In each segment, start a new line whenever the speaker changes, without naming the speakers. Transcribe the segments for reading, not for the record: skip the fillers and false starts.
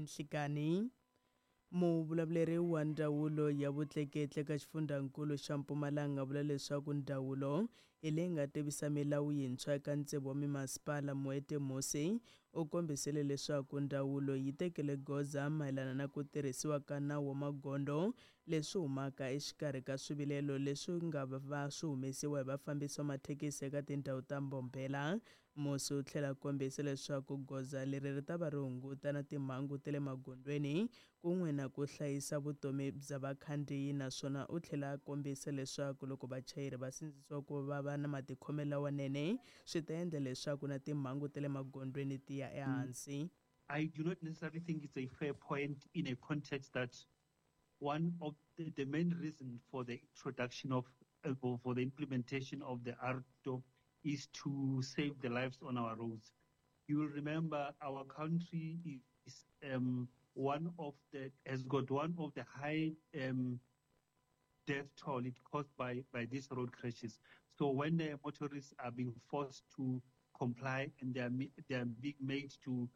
nhlikani. Muvulavuleri wa Ndzawulo ya Vutleketli eka xifundzankulu xa Mpumalanga vula leswaku ndzawulo hi leyi nga tivisa milawu yintshwa eka tsevu wa mimasipala. Moeti Musi u kombisile leswaku ndzawulo yi tekile goza mayelana na ku tirhisiwa ka nawu wa magondzo leswi humaka exikarhi ka swivilelo leswi nga va swi humesiwa hi vafambisi va mathekisi eka tindhawu ta Mbombela. Musi u tlhela a kombisa leswaku goza leri ri ta va ri hunguta na timhangu ta le magondzweni kun'we na ku hlayisa vutomi bya vakhandziyi, naswona u tlhela a kombisa leswaku loko vachayeri va sindzisiwa ku va va na matikhomelo lawanene swi ta endla leswaku na timhangu ta le magondzweni ti ya ehansi.
I do not necessarily think it's a fair point in a context that one of the main reason for the introduction of, for the implementation of the AARTO is to save the lives on our roads. You will remember our country is one of the, has got one of the high death toll it caused by these road crashes. So when the motorists are being forced to comply and they are being made to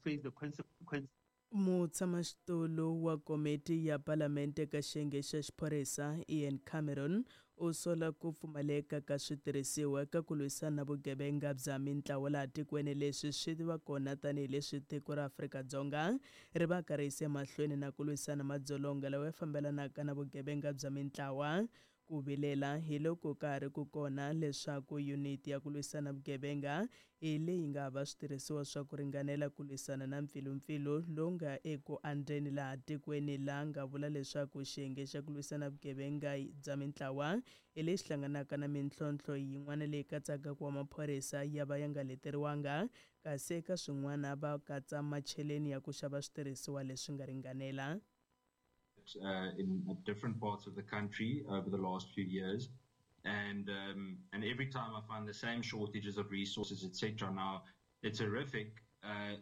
face the consequences.
Mutshamaxitulu wa komiti ya Palamente ka xiyenge xa xiphorisa Ian Cameron u sola ku pfumaleka ka switirhisiwa eka ku lwisana na vugevenga bya mintlawa laha tikweni. Leswi swi va kona tanihileswi tiko ra Afrika-Dzonga ri va ka ri yise mahlweni na ku lwisana madzolonga lawa ya fambelanaka na vugevenga bya mintlawa. Ku vilela hi loko ka ha ri ku kona leswaku yuniti ya ku lwisana vugevenga hi leyi nga hava switirhisiwa swa ku ringanela ku lwisana na mpfilumpfilu lowu nga eku andzeni laha tikweni, laha nga vula leswaku xiyenge xa ku lwisana vugevenga bya mintlawa hi lexi hlanganaka na mintlhontlho yin'wana leyi katsaka ku va maphorisa ya va ya nga leteriwanga, kasi eka swin'wana va katsa macheleni ya ku xava switirhisiwa leswi nga ringanela.
In different parts of the country over the last few years, and every time I find the same shortages of resources, etc. Now, it's horrific,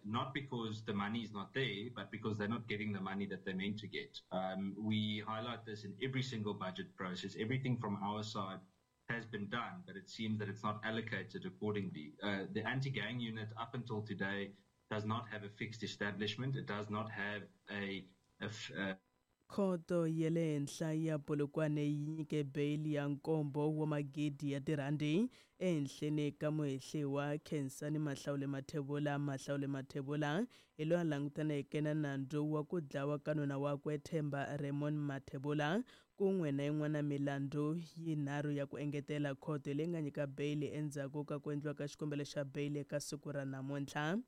not because the money is not there, but because they're not getting the money that they're meant to get. We highlight this in every single budget process. Everything from our side has been done, but it seems that it's not allocated accordingly. The anti-gang unit up until today does not have a fixed establishment. It does not have a
Khoto ya le henhla ya Polokwane yi nyike beyili ya nkombo wa magidi ya tirhandi ehenhleni ka muhehliwa Khensani Mahlawule Mathebula. Mahlawule Mathebula hi loyi a langutaneke na nandzu wa ku dlawa ka nuna wakwe Themba Raymond Mathebula kun'we na yin'wana milandzu yinharhu ya ku engetela. Khoto leyi nga nyika beyili endzhaku ka ku endliwa ka xikombelo xa beyili eka siku ra namuntlha.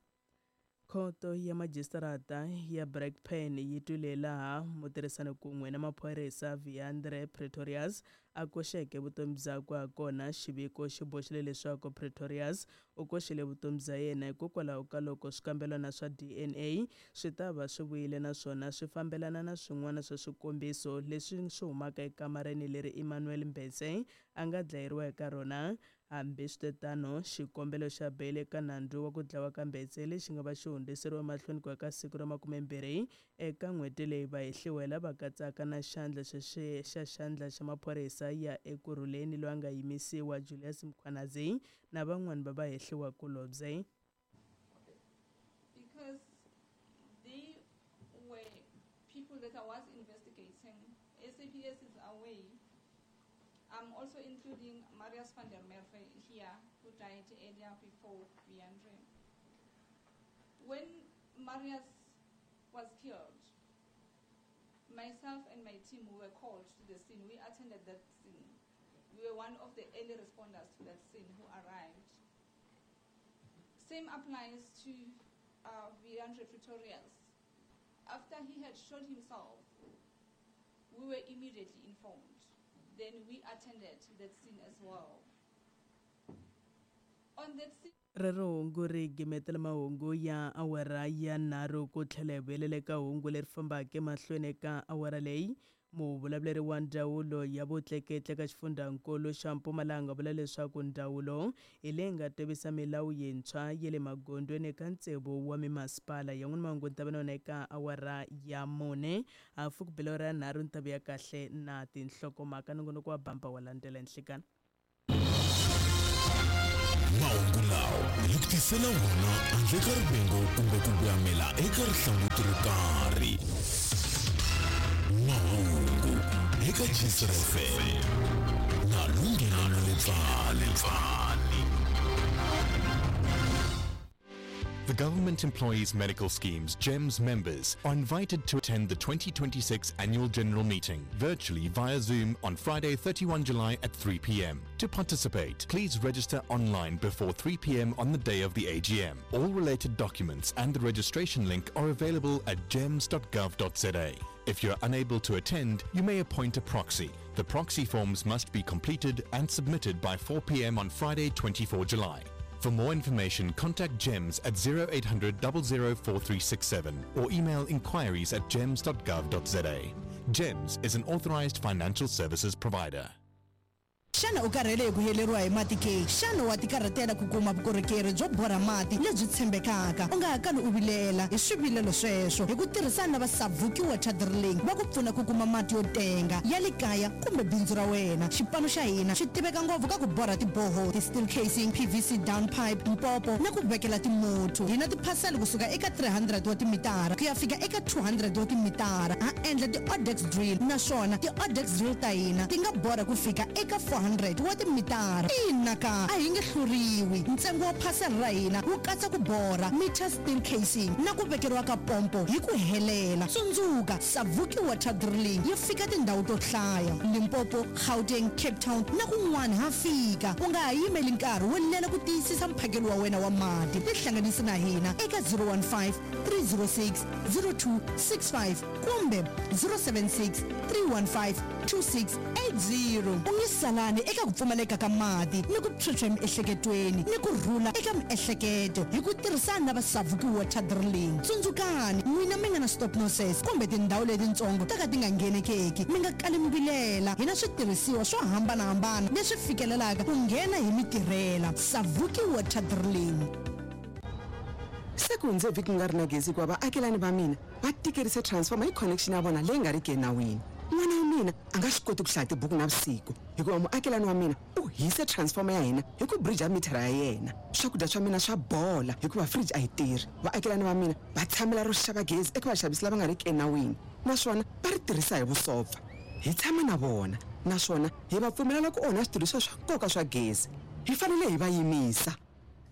Khoto ya majistarata ya Brakpan yi twile laha mutirhisani kun'we na maphorisa Viandre Pretorius a koxeke vutomi byakwe hakona. Xiviko xi boxile leswaku Pretorius u koxile vutomi bya yena hikokwalaho ka loko swikambelwana swa DNA swi ta va swi vuyile naswona swi fambelana na swin'wana swa swikombiso leswi swi humaka ekamareni leri Emmanuel Mbhense a nga dlayeriwa eka rona. Hambiswiritano, xikombelo xa beyili eka nandzu wa ku dlawa ka Mbetse lexi nga va xi hundziseriwe mahlweni ku ya ka siku ra 20 eka n'hweti leyi, vahehliwa lava katsaka na xandla xa xa xandla xa maphorisa ya Ekurhuleni loyi a nga yimisiwa Julius Mkhwanazi na van'wana va vahehliwa kulobye.
Because they were people that I was investigating. SAPS is away. I'm also including Marius van der Merwe here, who died earlier before Wiandre. When Marius was killed, myself and my team were called to the scene. We attended that scene. We were one of the early responders to that scene who arrived. Same applies to Wiandre Pretorius. After he had shot himself, we were immediately informed. Then we attended that scene as well. On that scene,
Rero hungu ri gimetela mahungu ya awara ya 3 ku tlhela hi vuyelela eka hungu leri fambaka emahlweni eka awara leyi. Muvulavuleri wa ndzawulo ya vutleketli eka xifundzankulu xa Mpumalanga vula leswaku ndzawulo hi leyi nga tivisa milawu yintshwa ya le magondzweni eka tsevu wa mimasipala. Yan'wana mahungu ni ta va na yona eka awara ya 4 hafu ku bela ra 3 ni ta vuya kahle na tinhlokomhaka. Nongonoko wa bamba wa landzela nhlikani.
Mahungu lawa hi ku tisela wona handle ka rivengo kumbe ku voyamela eka rihlanguti ro karhi. Mahungu eka Gistr FM na Lunghelo Letsane.
The Government Employees Medical Scheme's GEMS members are invited to attend the 2026 Annual General Meeting virtually via Zoom on Friday, 31 July at 3 p.m. To participate, please register online before 3 p.m. on the day of the AGM. All related documents and the registration link are available at gems.gov.za. If you're unable to attend, you may appoint a proxy. The proxy forms must be completed and submitted by 4 p.m. on Friday, 24 July. For more information, contact GEMS at 0800 004367 or email inquiries at gems.gov.za. GEMS is an authorized financial services provider.
Xana u karhele hi ku heleriwa hi mati ke? Xana wa tikarhatela ku kuma vukorhokeri byo borha mati lebyi tshembekaka? U nga ha kali u vilela hi swivilelo sweswo. Hi ku tirhisana na va Savuki Water Drilling va ku pfuna ku kuma mati yo tenga ya le kaya kumbe bindzu ra wena. Xipano xa hina xi tiveka ngopfu ka ku borha ti-borehole, ti-steel casing, PVC down pipe, mpopo na ku vekela timuthu. Hi na tiphasela kusuka eka 300 wa timitara ku ya fika eka 200 wa timitara. Ha endla ti-odex drill naswona ti-odex drill ta hina ti nga borha ku fika eka 400 wa timitara. Ina ka, a hi nge hluriwi. Ntsengo wa phasela ra hina wu katsa ku borha, meter steel casing na ku vekeriwa ka pompo hi ku helela. Tsundzuka, Savuki Water Drilling yi fika tindhawu to hlaya, Limpopo, Gauteng, Cape Town na kun'wana ha fika. U nga ha yimeli nkarhi wo lela ku tiyisisa mphakelo wa wena wa mati. Tihlanganisi na hina eka 015 306 0265 kumbe 076 315 2680. U nge salani eka ku pfumaleka ka mati ni ku phyuphya emiehleketweni ni ku rhula eka miehleketo hi ku tirhisana na va Savuki Water Drilling. Tsundzukani, n'wina mi nga na stop noses kumbe tindhawu letitsongo ta ka ti nga nghenekeki, mi nga kali mi vilela. Hi na switirhisiwa swo hambana-hambana leswi fikelelaka ku nghena hi mi tirhela. Savuki Water Drilling.
Se ku hundze vhiki ku nga ri na gezi hikuva vaakelani va mina va tikerise transformer hi connection ya vona leyi nga riki enawini. N'wana wa mina a nga swi koti ku hlaya tibuku navusiku hikuva muakelani wa mina u hise transformer ya hina hi ku brija mithara ya yena. Swakudya swa mina swa bola hikuva fridge a yi tirhi. Vaakelani va mina va tshamela ro xava gezi eka vaxavisi lava nga riki enawini naswona va ri tirhisa hi vusopfa. Hi tshama na vona naswona hi va pfumelela ku onha switirhisiwa swa nkoka swa gezi. Hi fanele hi va yimisa.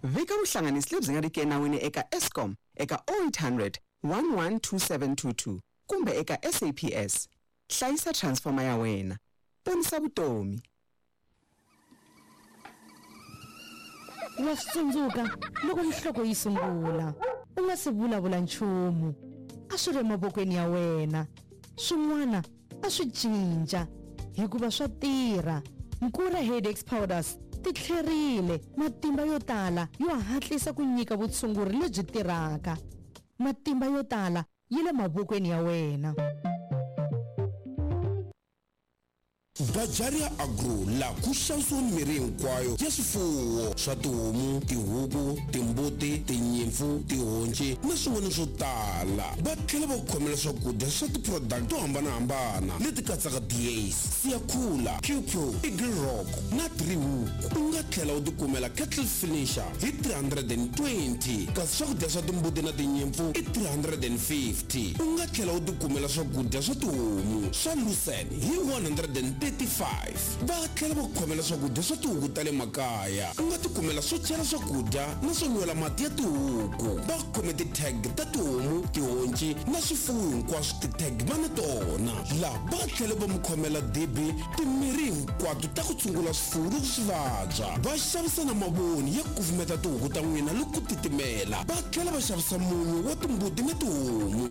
Vika vuhlanganisi lebyi nga riki enawini eka Eskom eka 0800 11 2722 kumbe eka SAPS. Hlayisa transformer ya wena. Ponisa vutomi.
Wa swi tsundzuka loko nhloko yi sungula, u nga si vulavula nchumu, a swi ri emavokweni ya wena. Swin'wana a swi cinca hikuva swa tirha. Nkura Headaches Powders ti tlherile, matimba yo tala yo hatlisa ku nyika vutshunguri lebyi tirhaka. Matimba yo tala yi le mavokweni ya wena.
Bajaria Agro la ku xavisiwa mirhi hinkwayo ya swifuwo swa tihomu, tihuku, timbuti, tinyimpfu, tihonci na swin'wana swo tala. Va tlhela va ku khomela swakudya swa ti-product to hambanahambana leti katsaka Diace, Siyakhula, Qpro, Eagle Rock na Driehoek. U nga tlhela u tikumela Cattle Finisher hi 320 kasi swakudya swa timbuti na tinyimpfu i 350. U nga tlhela u tikumela swakudya swa tihomu swa Lucerne hi 135. Va tlhela va ku khomela swakudya swa tihuku ta le makaya. U nga tikumela swo chela swakudya na swo nwela mati ya tihuku. Va khome ti-tag ta tihomu, tihonci na swifuwo hinkwaswo ti-tag va na tona. Laha va tlhela va mi khomela dibi timirhi hinkwato ta ku tshungula swifuwo loko swi vabya. Va xavisa na mavoni ya kufumeta tihuku ta n'wina loko ku titimela. Va tlhela va xavisa munyu wa timbuti na tihomu.